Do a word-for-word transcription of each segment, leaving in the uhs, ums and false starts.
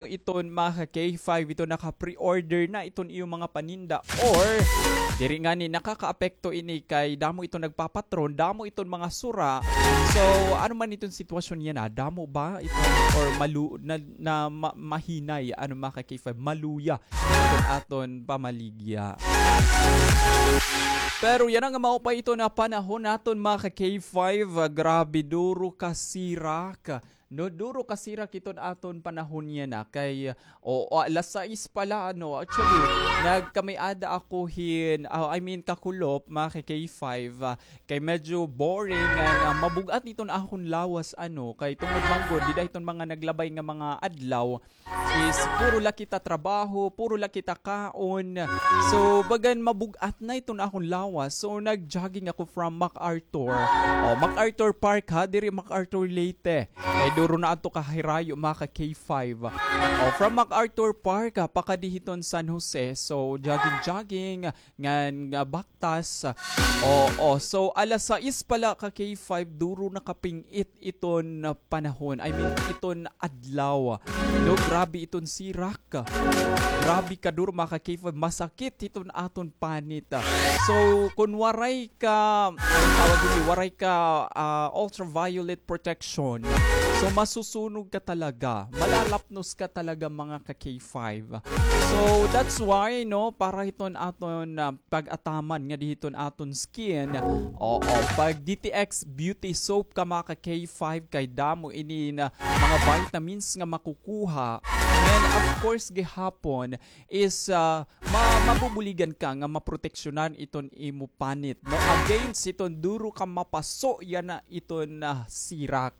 iton mga ka-K five, iton naka-pre-order na iton iyo mga paninda, or diri ngani nakakaapekto ini kay damo iton nagpapatron, damo iton mga sura. So, ano man iton sitwasyon yana, damo ba iton or malu-, na, na ma-, mahinay, ano, mga ka-K five, maluya iton aton pamaligya. Pero yana nga mao pa iton nga panahon naton, mga ka-K five, ah, grabe, duro ka sirak. No, duro ka sirak iton aton panahon yana kay, o, o, alas sais pa la, ano, actually, nagkamay-ada ako hin, ah, I mean, kakulop, mga ka-K five, ah, kay medyo boring, nga mabug-at iton akon lawas, ano, kay tungod man gud, dida hiton mga naglabay nga mga adlaw, is puro la kita trabaho, puro la kita kaon. So, bagan mabug-at na iton akon lawas. So, nag-jogging ako from MacArthur. Oh, MacArthur Park ha, diri MacArthur Leyte. Kay duro na adto ka hirayo, mga ka-K five. Oh, from MacArthur Park ha, pakadi hiton San Jose. So, jogging-jogging, ngan nga baktas. Oo, so alas sais pa la, ka-K five, duro na kaping-it iton panahon. I mean, iton adlaw. No, grabe iton sirak. Grabe kaduro, mga ka-K five, masakit iton aton panit. So, kun waray ka, ano tawag ini, waray ka, ah, ultraviolet protection, so masusunog ka talaga, malalapnos ka talaga, mga ka-K five. So, that's why, no, para hiton aton, ah, pag-ataman ngadi hiton aton skin. Oo, pag D T X Beauty Soap ka, mga ka-K five, kay damo ini nga mga vitamins nga makukuha. And of course, gihapon is, ah, ma-, mabubuligan ka nga maproteksyonan iton imo panit, no? Against iton duro ka mapaso yana iton, ah, sirak.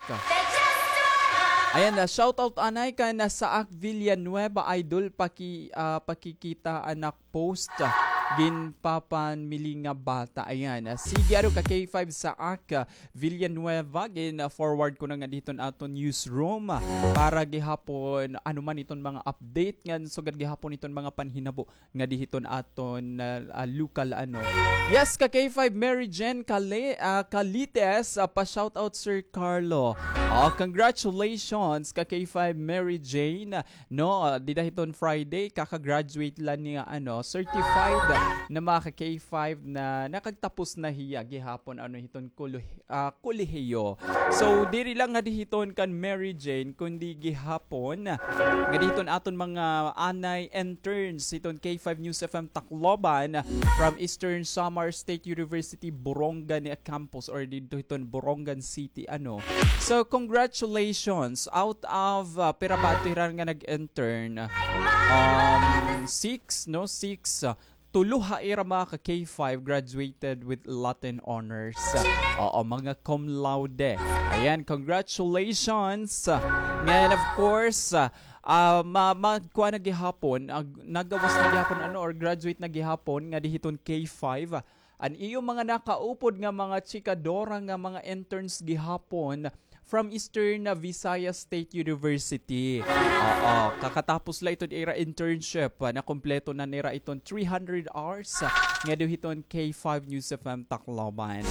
Ayan na, shout out anay kan Saak Villanueva, idol, paki-, ah, pakikita anak post, ah, ginpapanmili nga bata. Ayan, ah, sige, ano ka, K five, Saak, ah, Villanueva, gin, ah, forward ko na ngadi hiton aton newsroom, ah, para gihapon, ano man iton mga update ngan sugad gihapon iton mga panhinabo ngadi hiton aton, ah, ah, lokal, ano. Yes, ka K five, Mary Jane Kale-, ah, Calites, ah, pa-shoutout, Sir Carlo. Ah, congratulations, ka K five, Mary Jane. No, ah, dida hiton Friday, kaka-graduate la niya, ano, certified na, mga ka K five, na nakagtapos na hiya gihapon, ano, hiton kolo-, ah, kolehiyo. So, diri la ngadi hiton kan Mary Jane, kundi gihapon ngadi hiton aton mga anay interns hiton K five News F M Tacloban, from Eastern Samar State University, Borongan Campus, or didto hiton Borongan City, ano. So, congratulations. Out of, ah, pira ba adto hira nga nag-intern? Um, six, no? Six. Ah, tulo ha ira, mga ka K five, graduated with Latin honors. Oo, mga cum laude. Ayan, congratulations. Ngayon, of course, ah, ah, ma-, ma-, kuan na gihapon, ah, nagawas na gihapon, ano, or graduate na gihapon ngadi hiton K five. An iyo mga nakaupod nga mga chikadora nga mga interns gihapon from Eastern Visayas State University. Oo, kakatapos la iton ira internship, ah, nakumpleto na nira iton three hundred hours, ah, ngadi hiton K five News F M Tacloban.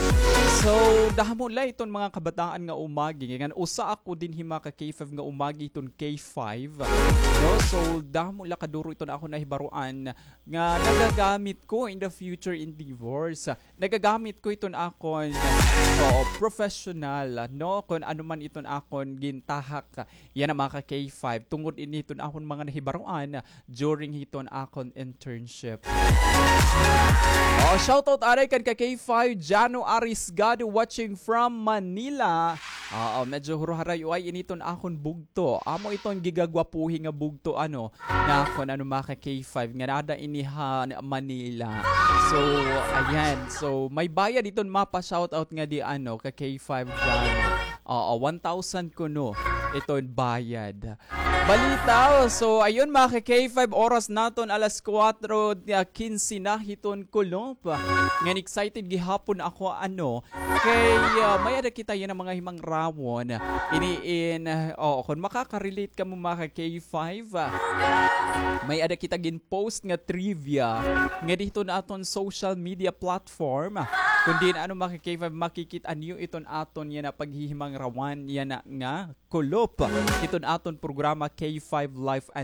So, damo la iton mga kabataan nga umagi. Ngan usa ako dinhi, mga ka K five, nga umagi hiton K five. No? So, damo la kaduro iton akon nahibaroan nga nagagamit ko in the future endeavors. Nagagamit ko iton akon, oo, professional, no? Kon ano man iton akon gintahak, yana, mga ka K five, tungod ini hiton akon mga nahibaroan during hiton akon internship. Oh, shoutout anay kan ka K five, Jano Arisgado, watching from Manila. Oo, medyo huruharay uay ini iton akon bugto. Amo iton gigagwapuhi nga bugto, ano, na kon ano, mga ka K five, nga nada ini ha Manila. So, ayan. So, may bayad iton mapa-shoutout ngadi, ano, ka K five dyan. Oo, one thousand kuno iton bayad. Balita. So, ayun, mga ka K five, oras naton alas kuwatro, ah, kinse na hiton kulop. Ngan excited gihapon ako, ano, kay, ah, may-ada kita yana mga himangrawon. Ini in, ah, oo, kon makaka-relate kamo, mga ka K five, ah, may-ada kita gin-post nga trivia ngadi hiton aton social media platform. Kon diin, ano, mga ka K five, makikit-an niyo iton aton yana paghihimangrawan yana nga kulop. Opa, hiton aton programa K five Life and